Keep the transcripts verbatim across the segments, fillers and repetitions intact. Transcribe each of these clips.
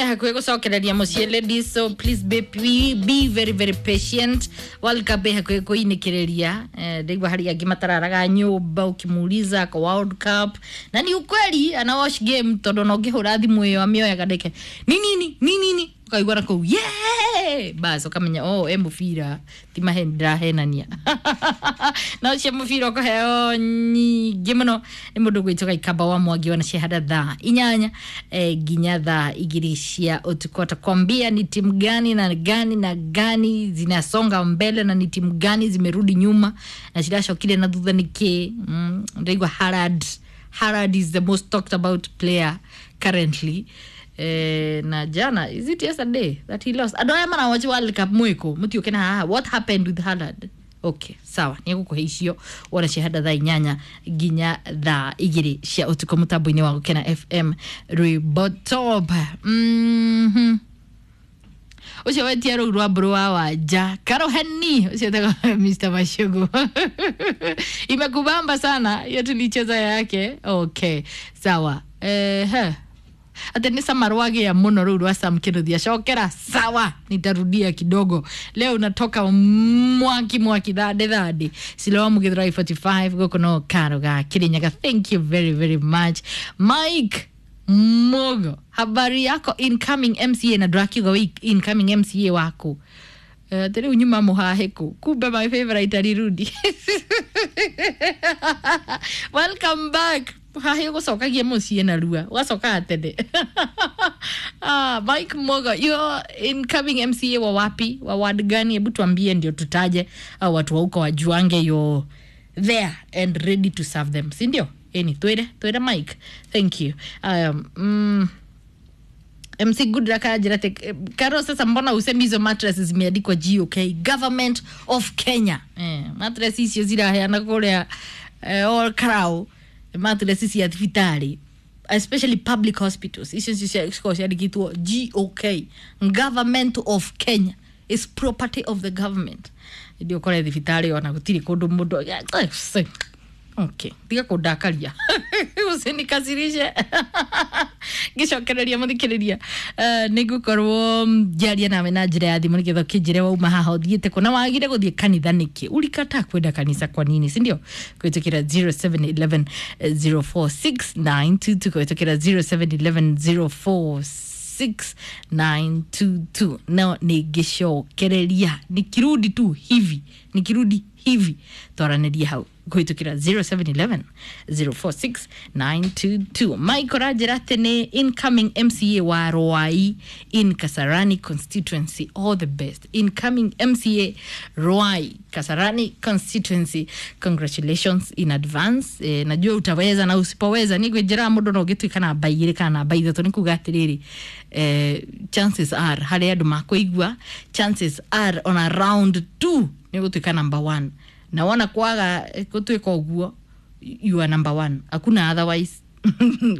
me hakuhĩ gũcokereria mũciĩ, ladies, so please be, be, be very very patient. World Cup ĩ hakuhĩ kũinĩkĩrĩria. Eh, ndaigua harĩ angĩ matararaga nyũmba ũkimuuliza kwa World Cup, na ni ukweli ana watch game tondũ ona ũngĩhũra thimũ ĩyo amĩoyaga ndeke ni nini ni nini, ũkaigua na kũu yeah, bas ũkamenya, oh, e mũbira ti maheni ndĩrahenania. Na ũcio mũbira ũkũheo nyingĩ mũno nĩ mũndũ gwĩtwo Gaikamba wa Mwangi wana ciahanda thaa inyanya eh, nginya thaa igĩrĩ cia ũtukũ. Atakwambia ni timu gani na gani na gani zinasonga mbele na ni timu gani zimerudi nyuma na ciracokire na thutha nĩkĩ. mm, ndaigua Harad Harad is the most talked about player currently. Eh, na jana, is it yesterday that he lost? Andå aya marawatch World Cup mwiko mutiuke na haha, what happened with Haaland? Okay, sawa, nä gå kå he icio wona ciahanda thaa inyanya nginya thaa igä cia å tukå må tambo-inä wa Gũkena F M rwĩmbo top. mm -hmm. Ũcio wetia rũu rwa mbũrũ wa wanja karoheni ũcio etagwo Mister Mashugu, imekubamba sana hiyo tulicheza yake. Okay, sawa. Ehe, ate nĩ cama rwagĩa mũno rũu rwa Sam Kĩnuthia, cokera. Sawa, nitarudia kidogo. Leo unatoka mwaki mwaki thande thande siloa mugithurai mĩrongo ĩna na ithano gũkũ no karo ga Kirinyaga. Thank you very very much, Mike Mogo. Habari yako, incoming M C A? Na ndũrakiuga wĩ incoming M C A waku. Eh, uh, rĩu nyuma mũhahĩkũ, kumbe my favorite alirudi. Welcome back. Hahi ũgũcokagia mũciĩ narua ũgacokaga tene. Ah, Mike Mogo, you're incoming M C A wa wapi, wa ward gani? Hebu tuambie ndio tutaje au watu wa huko wajuange you're there and ready to serve them, si ndio? Eni twire twire, Mike. Thank you. um, mm, M C Goodluck anjĩra atĩ, "Karo, sasa mbona usemi hizo mattress zimeandikwa G O K, Government of Kenya?" Eh, mattress icio ziraheana kũrĩa eh, all crow mattress cia thibitarĩ, especially public hospitals, icio nicio cikoragwo ciandĩkĩtwo G O K, Government of Kenya, is property of the government. Ndio ũkore thibitarĩ ona gũtirĩ kũndũ mũndũ. Okay, tiga kũndakaria, usinikasirishe. Ngĩcokereria mũthikĩrĩria, uh, nĩ ngũkorwo ngĩaria nawe na njĩra ya thimũ nĩgetha ũkĩnjĩre wauma haha ũthiĩte kũ na wagire gũthiĩ kanitha nĩkĩ, ulikataa kwenda kanisa kwa nini, si ndio? Kũhĩtũkĩra zero seven one one zero four six nine two two, kũhĩtũkĩra zero seven one one zero four six nine two two. No nĩngĩcokereria nikirudi tu hivi, nikirudi hivi twaranĩrie hau kũhĩtũkĩra zero seven one one zero four six nine two two. Mike ũranjĩra atĩ nĩ incoming M C A wa Ruai in Kasarani constituency. All the best, incoming M C A Ruai Kasarani constituency. Congratulations in advance. Eh, najua utaweza, na usipoweza nĩ ngwĩnjĩra mũndũ no ũngĩtuĩka namba igĩrĩ kana namba ithatũ, nĩ kuga atĩrĩrĩ, eh, chances are harĩ andũ makũigua, chances are on a round two nĩ gũtuĩka number one, na wona kwaga eh, gũtuĩka ũguo, you are number one, hakuna otherwise.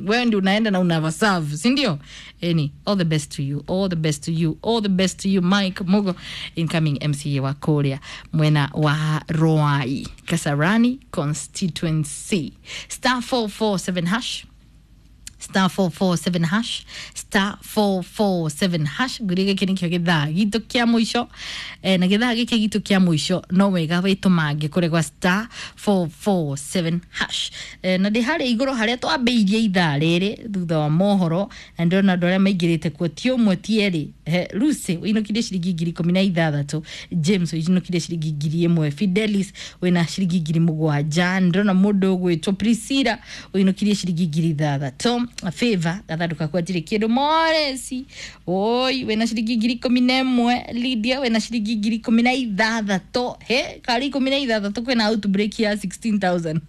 Wewe ndio unaenda na unavaserve, si ndio? Any all the best to you, all the best to you, all the best to you, Mike Mugo, incoming M C A wa Korea mwena wa Ruai Kasarani constituency. Star four four seven hash, star four four seven hash, star four four seven hash. Ngwĩria gĩkĩ nĩkĩo gĩthaa gitũ kĩa mũico. eh, na gĩthaa gĩkĩ gitũ kĩa mũico no wega wĩtũmange kũrĩ gwa star four four seven hash. eh, na ndĩ harĩa igũrũ harĩa twambĩirie ithaa rĩrĩ thutha wa mohoro, na ndĩrona andũ arĩa maingĩrĩte kuo ti ũmwe ti erĩ. eh, Lucy wĩinũkirie ciringi ngiri ikũmi na ithathatũ, James wĩinũkirie ciringi ngiri ĩmwe, Fidelis wĩna ciringi ngiri mũgwanja, ndĩrona mũndũ ũgwĩtwo Priscilla wĩinũkirie ciringi ngiri ithathatũ, Favor gathandũka kwa ndirĩ kĩndũ, Moresi oi wĩna ciringi ngiri ikũmi na ĩmwe, Lydia wĩna ciringi ngiri ikũmi na ithathatũ. He karĩ ikũmi na ithathatũ kwĩna outbreak ya sixteen thousand,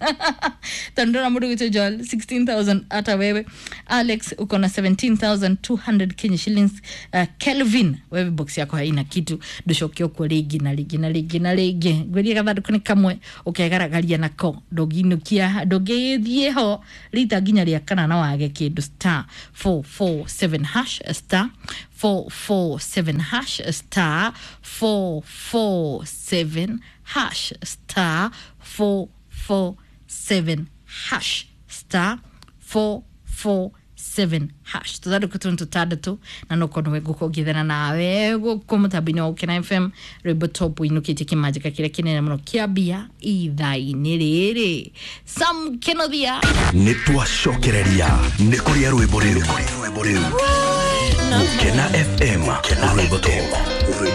tondũ ndĩrona mũndũ ũgwĩtwo Joel sixteen thousand, hata wewe Alex uko na seventeen thousand two hundred Kenya shillings. uh, Kelvin, wewe box yako haina kitu, ndũcoke ũkuo rĩngĩ na rĩngĩ na rĩngĩ na rĩngĩ. Ngwĩria gathandũkũ nĩ kamwe ũkegaragaria nako, ndũngĩinũkia ndũngĩthiĩ ho rita nginya rĩa kana na wage kĩndũ. Star four four seven hash, star four four seven hash, star four four seven hash, star four four seven hash, star four four seven. seven hash. Tuthandũkũ tũ tũtandatũ na no korwo nĩwe ngũkorwo ngĩethana nawe gũkũ mũtambo-inĩ wa Gũkena F M, rwĩmbo top ũinũkĩtie kĩmanjĩka kĩrĩa kĩnene mũno kĩa mbia ithaa-inĩ rĩrĩ. Sam Kenothia. Nĩ twacokereria nĩ kũrĩa rwĩmbo rĩu. Gũkena F M, rwĩmbo top.